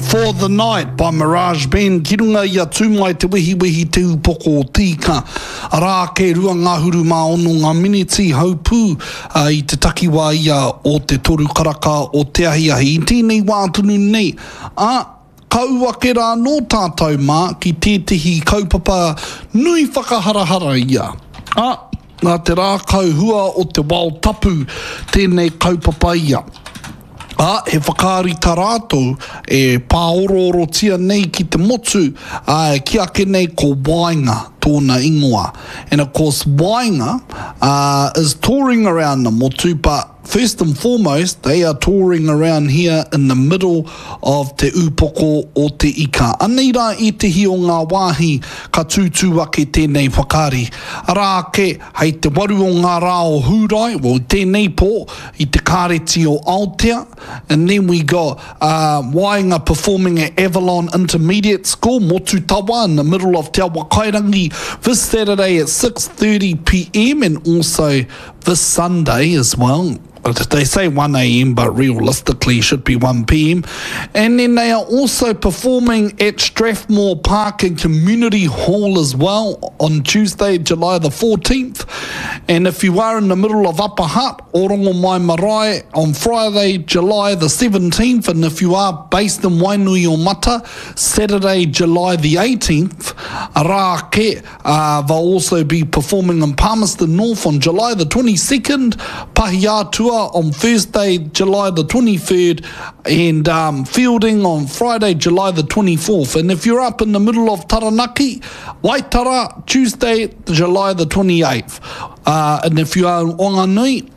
For the Night by Mirage Band ki runga i a Tūmai Te Wehiwehi Te Upoko o Tīka. Arā ake 26 ngā miniti haupū i te takiwā ia o te toru karaka o te ahiahi. I tēnei wā tonu nei, ā, ka ū ake rā anō tātou mā ki tētehi kaupapa nui whakaharahara ia, ā, nā te rākau hua o te wao tapu tēnei kaupapa ia. Ā, he whakaari tā rātou e pāoroorotia nei ki te motu, ā, e kī ake nei ko Waenga tōna ingoa. And of course Waenga uh, is touring around the motu, but first and foremost they are touring around here in the middle of Te Ūpoko o Te Ika. Anei rā ētehi o ngā wāhi ka tūtū ake tēnei whakaari. Arā ake, Hei te waru o ngā rā o Hūrae, well, i tēnei pō, i te Kāreti o Aotea, and then we got uh, Waenga performing at Avalon Intermediate School, Motutawa, in the middle of Te Awakairangi, this Saturday at 6.30pm and also this Sunday as well. They say 1am, but realistically should be 1pm. And then they are also performing at Strathmore Park and Community Hall as well on Tuesday, July the 14th. And if you are in the middle of Upper Hutt, Orongomai Marae on Friday, July the 17th. And if you are based in Wainui or Mata, Saturday, July the 18th, arā ake, Uh, they'll also be performing in Palmerston North on July the 22nd, Pahiatua on Thursday, July the 23rd, and um, Fielding on Friday, July the 24th. And if you're up in the middle of Taranaki, Waitara, Tuesday, July the 28th. Uh, and if you are in Wanganui,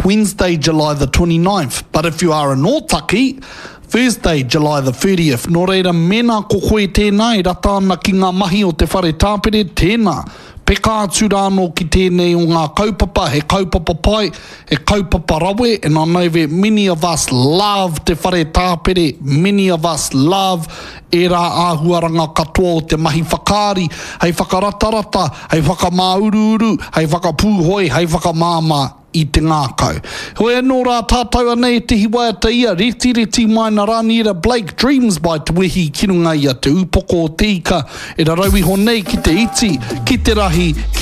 Wednesday, July the 29th. But if you are in Ōtaki, Thursday, July the 30th. Nō reira, mēnā ko koe tēnā e rata ana ki ngā mahi o te whare tāpere, tēnā, peka atu rā anō ki tēnei o ngā kaupapa, he kaupapa pai, he kaupapa rawe, and I know that many of us love te whare tāpere, many of us love ērā āhuaranga katoa o te mahi whakaari, hei whakaratarata, hei whakamāuruuru, hei whakapūhoi, hei whakamāmā i te ngākau. Heoi anō rā tātou anei ētehi waiata ia, Retireti mai na Raniera Blake, Dreams by Te Wehi ki runga i a Te Ūpoko o Te Ika e rarau iho nei ki te iti, ki te rahi, ki.